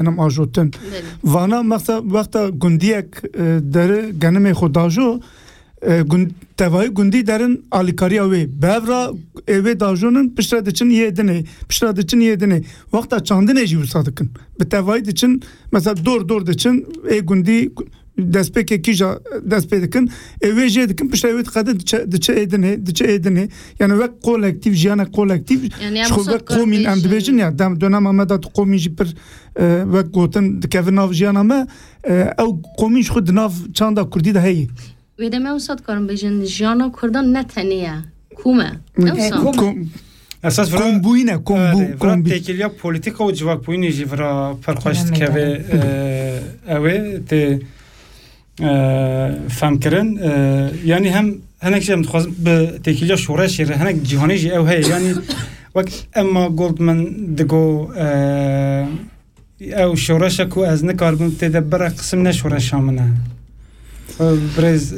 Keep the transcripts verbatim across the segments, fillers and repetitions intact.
em ajotin. Vana mexsa wexta gundiyek, e, deri genimê xwe dajo, e, gund-, tevayî gundî derin alîkariya wê. Bi hev ra ê wê dajonin, piştre diçin yê dinê, piştre diçin yê dinê. Wexta çandinê jî wisa dikin. Bi tevayî diçin, mesela dor dor diçin, ê gundî destpêkê kîja dest pê dikin, ê wê jê dikin, piştre wê diqedin diçe, diçe ê dinê, diçe ê dinê. Yani wek kolektîf, jiyana kolektîf, Yani em ji xwe wisa wek komîn em dibêjin ya, dem, dönema me de tu komîn jî pir, e, wek gotin dikevin nav jiyana me, e, ew komîn ji xwe di nav çanda kurdî de heye. Wê demê wisa dikarin bêjin, jiyana Kurdan ne tenê ye. Kom e. Hı. Ew E, sa. Kom. Kom. Esas vira, Kombûyîn e, kombû, e, vira kombî. Têkiliya polîtîka û civakbûyînê jî vira pir xweş Demê dikeve, de. E, ew ê tê, e, femkirin. E, yanî hem hinek jî em dixwazin bi têkiliya şoreşê re, hinek cîhanê jî ew heye. Yanî wek Emma Goldman digo, e, Ew şoreşa ku ez nikaribim tê de bira qisim ne şoreşa min e. Birêz,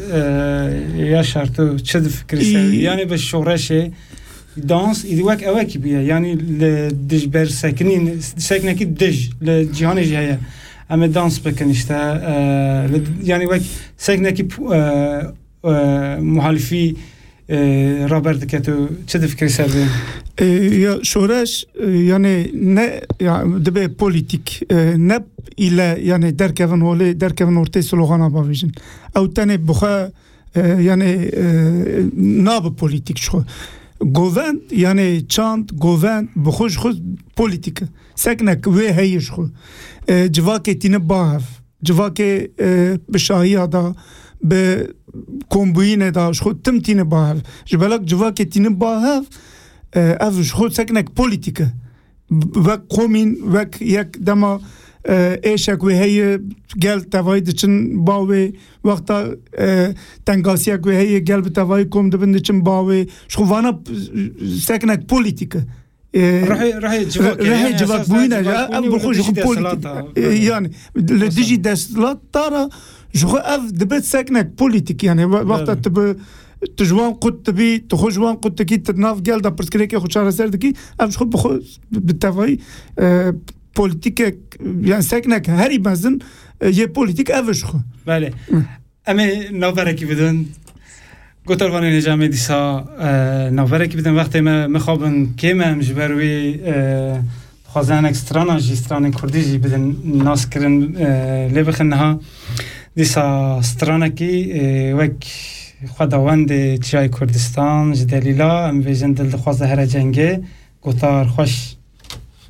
e, Yaşar, tu çi difikirî ser? Î- Yani bi şoreşê dans îdî wek ewekî bûye. Yani li dijber sekinîn, seknekî dij li cîhanê jî heye. Em ê dans bikin işte. E, li, yani wek seknekî pu-, e, e, muhalifî, e, raber dike, tu çi difikirî ser vê? E, ya şoreş, e, yani ne, ya dibe polîtîk, e, ne île yani derkevin holê, derkevin ortê slogana bavêjin. Ew tenê bi xwe, e, yani, e, nabe polîtîk ji xwe. Govend, yani çand, govend, bi xwe ji xwe polîtîk e. Seknek wê heye ji xwe. E, civakê tîne ba hev. Civakê, e, bi şahiya da, bi kombûyînê da, ji xwe tim tîne ba hev. Ji belak civakê tîne ba hev, e, ev ji xwe seknek polîtîk e. B-, wek komîn, wek yek dema, e, êşek wê heye, gel tevayî diçin ba wê, wexta, e, tengasiyek wê heye, gel bi tevayî kom dibin diçin ba wê. Ji xwe vana, e, seknek polîtîk e. E, Rihê, rihê civakê, rihê yani civak esas bûyî ne, civak ev bûyî bi xwe ji xwe polîtîk. Desthilat e, yani, li dijî desthilat da re ji xwe ev dibe seknek polîtîk, yani, we-, wexta Evet. tu bi, tu ji wan qut dibî, tu xwe ji wan qut dikî, tu nav gel de pirsgirêkê xwe çareser dikî, ev ji xwe bi xwe bi tevayî, e, polîtîkek, yani seknek herî mezin, e, yê polîtîk ev e ji xwe. Belê. Hı. Em ê navberekî bidin. Gotarvanên hêja em ê dîsa, e, navberekî bidin. Wextê me mixabin kêm e, em ji ber wî, e, dixwazin hinek strana jî, stranên kurdî jî bidin naskirin, e, lê bixin niha. Dîsa stranekî, e, wek xwedawendê Çiyayê Kurdistan ji Delîla, em bêjin dil dixwaze here cengê, gotar xweş.